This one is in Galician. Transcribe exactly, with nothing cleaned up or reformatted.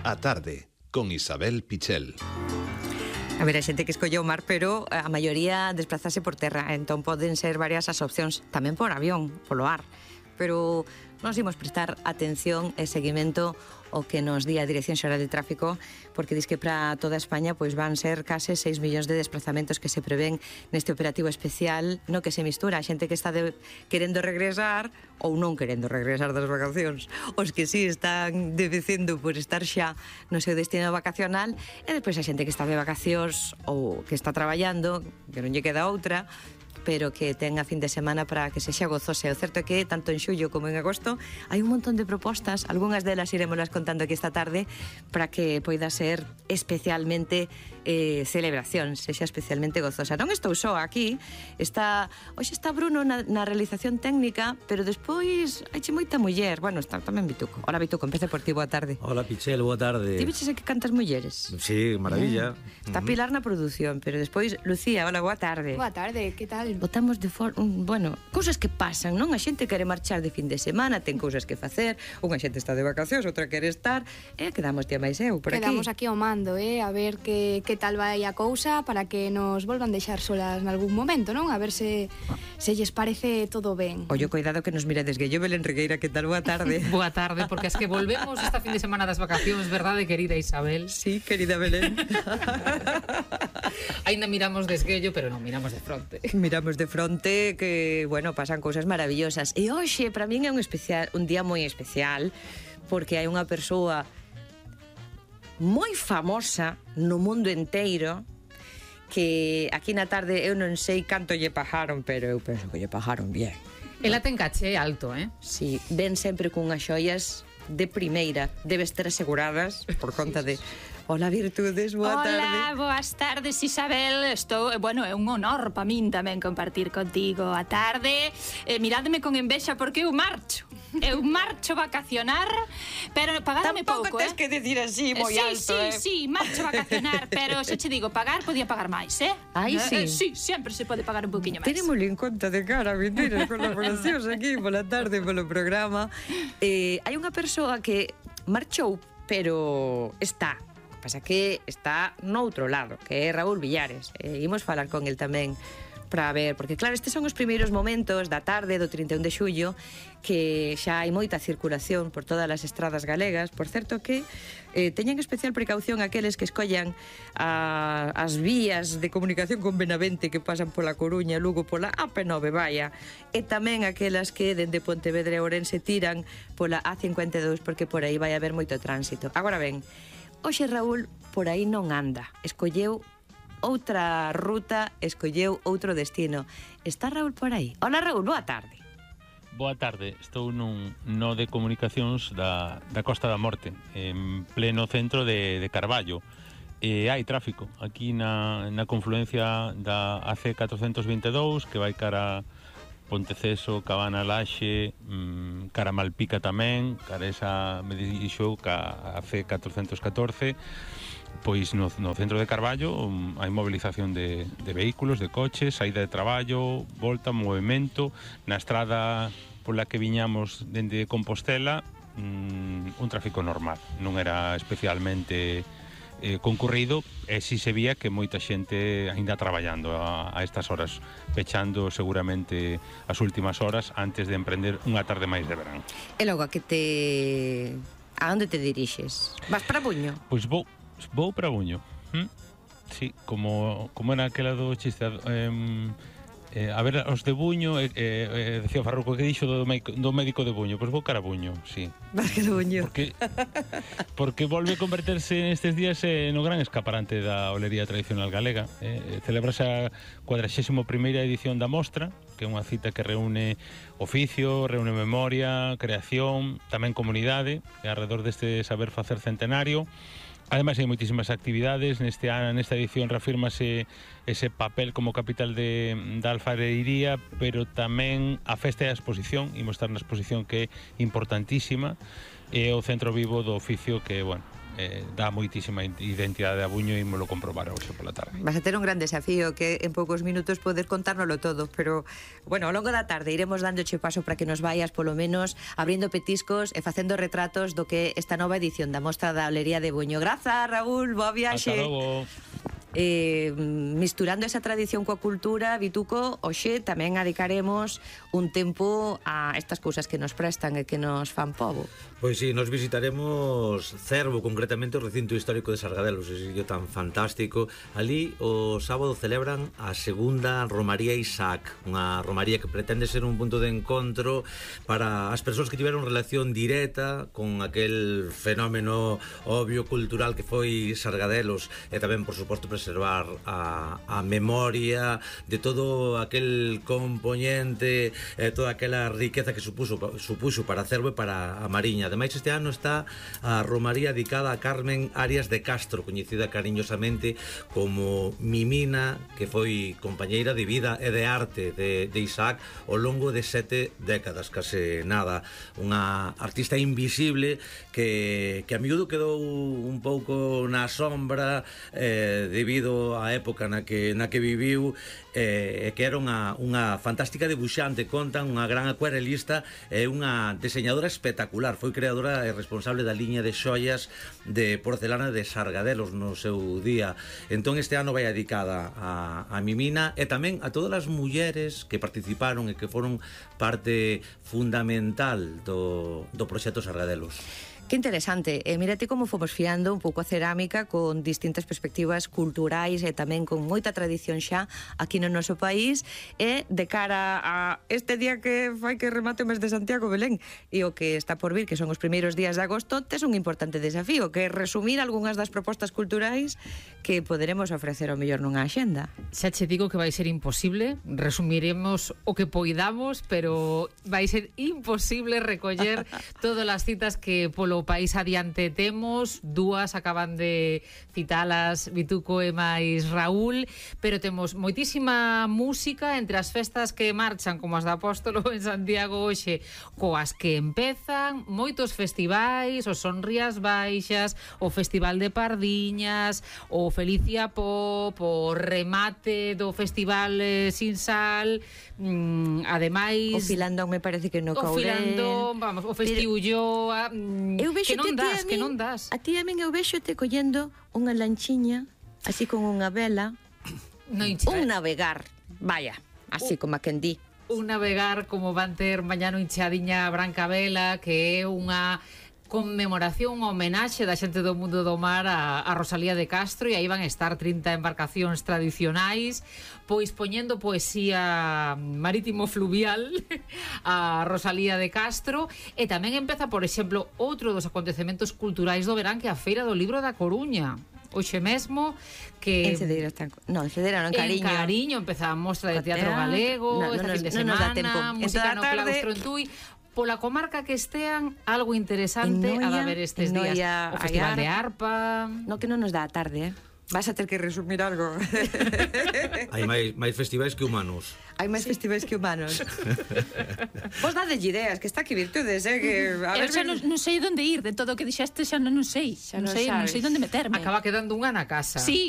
A tarde, con Isabel Pichel. A ver, a xente que escolleu o mar, pero a maioría desplazase por terra, entón poden ser varias as opcións, tamén por avión, polo ar, pero nos imos prestar atención e seguimento o que nos di a Dirección Xeral de Tráfico, porque dis que para toda España pois van ser case seis millóns de desplazamentos que se prevén neste operativo especial, no que se mistura a xente que está de, querendo regresar ou non querendo regresar das vacacións, os que sí están debecendo por estar xa no seu destino vacacional, e depois a xente que está de vacacións ou que está traballando, que non lle queda outra, pero que ten a fin de semana para que sexa gozosa. O certo é que, tanto en xullo como en agosto, hai un montón de propostas, algunhas delas iremoslas contando aquí esta tarde, para que poida ser especialmente eh, celebración, sexa especialmente gozosa. Non estou só aquí, está, hoxe está Bruno na, na realización técnica, pero despois haiche moita muller. Bueno, está tamén Bituco. Hola Bituco, empece por ti, boa tarde. Hola Pichel, boa tarde. Ti viches que cantas mulleres? Sí, maravilla. Eh, está Pilar na produción, pero despois Lucía, hola, boa tarde. Boa tarde, que tal? Botamos de for... bueno, cousas que pasan, non? A xente quere marchar de fin de semana, ten cousas que facer, unha xente está de vacacións, outra quere estar, e quedamos tía máis eu por aquí. Quedamos aquí ao mando, eh, a ver que, que tal vai a cousa para que nos volvan deixar solas nalgún momento, non? A ver se, se lles parece todo ben. Ollo, cuidado que nos mirades, Guello Belén Regueira, que tal? Boa tarde. Boa tarde, porque es que volvemos esta fin de semana das vacacións, verdade, querida Isabel? Sí, querida Belén. Ainda miramos de esguello, pero non miramos de fronte. Miramos de fronte que, bueno, pasan cousas maravillosas. E hoxe, para min é un especial, un día moi especial, porque hai unha persoa moi famosa no mundo enteiro que aquí na tarde eu non sei canto lle pagaron, pero eu penso que lle pagaron bien. Ela ten caché alto, eh? Sí, ven sempre cunhas xoias de primeira, debes ter aseguradas por conta de... Hola, Virtudes, boa Hola, tarde. Hola, boas tardes, Isabel. Estou, bueno, é un honor para min tamén compartir contigo a tarde. Eh, miradme con envexa porque eu marcho. Eu marcho vacacionar, pero pagadme pouco, eh? Tampouco tes que decir así moi sí, alto, sí, eh? Sí, sí, marcho vacacionar, pero se che digo pagar, podía pagar máis, eh? Ai, sí? Eh, sí, sempre se pode pagar un poquinho máis. Tenémoslo en conta de cara, mentiras, colaboracións aquí pola tarde, polo programa. Eh, hai unha persoa que marchou, pero está... Pasa que está noutro lado, que é Raúl Villares. E imos falar con el tamén para ver, porque claro, estes son os primeiros momentos da tarde do trinta e un de xullo que xa hai moita circulación por todas as estradas galegas. Por certo que eh, teñen especial precaución aqueles que escollan a, as vías de comunicación con Benavente que pasan pola Coruña, Lugo pola A P nove, vaya, e tamén aquelas que dende Pontevedra e Ourense tiran pola A cincuenta e dous, porque por aí vai haber moito tránsito. Agora ben, hoxe Raúl por aí non anda, escolleu outra ruta, escolleu outro destino. Está Raúl por aí? Hola Raúl, boa tarde. Boa tarde, estou nun nó de comunicacións da, da Costa da Morte, en pleno centro de, de Carballo. E hai tráfico aquí na, na confluencia da A C catrocentos vinte e dous, que vai cara Ponteceso, Cabana Laxe, mmm, cara Malpica tamén, cara esa me dixo ca A C catrocentos catorce. Pois no, no centro de Carballo um, hai movilización de, de vehículos, de coches, saída de traballo, volta, movimento. Na estrada pola que viñamos dende Compostela, um, un tráfico normal, non era especialmente eh, concurrido, e si se vía que moita xente ainda traballando a, a estas horas, pechando seguramente as últimas horas antes de emprender unha tarde máis de verán. E logo, a que te... a onde te dirixes? Vas para Buño? Pois vou Vou para Buño. ¿Mm? Sí, como, como era aquela do chiste eh, eh, a ver, os de Buño eh, eh, decía o Farruco que dixo do, médico, do médico de Buño. Pois vou cara a Buño, sí. Vas cara a Buño. Porque, porque volve a converterse nestes días eh, no gran escaparante da olería tradicional galega. eh, Celebrase a cuadragésima primeira edición da mostra, que é unha cita que reúne oficio, reúne memoria, creación, tamén comunidade, alrededor deste saber facer centenario. Ademais hai moitísimas actividades. Neste ano, nesta edición, reafírmase ese papel como capital de, da alfareiría, pero tamén a festa e a exposición. Imos estar na exposición que é importantísima, e o centro vivo do oficio que, bueno, eh, dá moitísima identidade a Buño e ímolo comprobar hoxe pola tarde. Vas a ter un gran desafío que en poucos minutos poder contárnoslo todo, pero, bueno, ao longo da tarde iremos dándoche paso para que nos vayas, polo menos, abrindo petiscos e facendo retratos do que esta nova edición da Mostra da Olería de Buño. Grazas, Raúl, boa viaxe. Ata logo. Eh, misturando esa tradición coa cultura, Vituco, hoxe tamén adicaremos un tempo a estas cousas que nos prestan e que nos fan pobo. Pois sí, nos visitaremos Cervo, concretamente o recinto histórico de Sargadelos, ese sitio tan fantástico. Ali o sábado celebran a segunda Romaría Isaac, unha romaría que pretende ser un punto de encontro para as persoas que tiveron relación directa con aquel fenómeno obvio cultural que foi Sargadelos, e tamén, por suposto, preservar a, a memoria de todo aquel componente, eh, toda aquela riqueza que supuso, supuso para Cervo e para a Mariña. Ademais, este ano está a romaría dedicada a Carmen Arias de Castro, coñecida cariñosamente como Mimina, que foi compañeira de vida e de arte de, de Isaac ao longo de sete décadas, case nada. Unha artista invisible que, que a miúdo quedou un pouco na sombra eh, debido á época na que, na que viviu, e eh, que era unha, unha fantástica debuxante, contan, unha gran acuarelista e unha diseñadora espectacular. Foi creadora e responsable da liña de xoias de porcelana de Sargadelos no seu día. Entón este ano vai dedicada a, a Mimina e tamén a todas as mulleres que participaron e que foron parte fundamental do, do proxecto Sargadelos. Que interesante, e mírate como fomos fiando un pouco a cerámica con distintas perspectivas culturais e tamén con moita tradición xa aquí no noso país, e de cara a este día que fai que remate o mes de Santiago, Belén, e o que está por vir, que son os primeiros días de agosto, tes un importante desafío, que é resumir algunhas das propostas culturais que poderemos ofrecer ao mellor nunha axenda. Xa che digo que vai ser imposible, resumiremos o que poidamos, pero vai ser imposible recoller todas as citas que polo o país adiante temos. Dúas acaban de citalas Vituco e máis Raúl, pero temos moitísima música entre as festas que marchan, como as da Apóstolo en Santiago hoxe, coas que empezan, moitos festivais, os Sonrías Baixas, o Festival de Pardiñas, o Felicia Pop, o remate do Festival eh, Sin Sal, mm, ademais... O Filandón me parece que no Courel. O Filandón, vamos, o Festiulloa... Mm, Eu que non a das, min, que non das. A ti a min eu vexote collendo unha lanchiña, así con unha vela, no incha, un navegar, vaya, así uh, como a quen di. Un navegar como van ter mañá no Inchadiña Branca Vela, que é unha conmemoración, unha homenaxe da xente do mundo do mar a, a Rosalía de Castro, e aí van estar trinta embarcacións tradicionais, pois poñendo poesía marítimo-fluvial a Rosalía de Castro. E tamén empeza, por exemplo, outro dos acontecementos culturais do verán, que é a Feira do Libro da Coruña. Hoxe mesmo que... En Cedeira están... Non, en Cedeira non, en Cariño. En Cariño empeza a mostra de teatro galego, no, esta no, fin de no semana, música no tarde... claustro en Tui. Pola comarca que estean, algo interesante a da ver estes días. O Festival de Arpa... No, que non nos dá a tarde, eh? Vas a ter que resumir algo. Hai máis, máis festivais que humanos. Hai máis sí. festivais que humanos. Vos dadelle ideas, que está aquí virtudes, eh? Que, a Eu ver, xa non, non sei onde ir, de todo o que dixeste xa non, non sei. Xa non, non sei, non sabes. sei onde meterme. Acaba quedando unha na casa. Sí.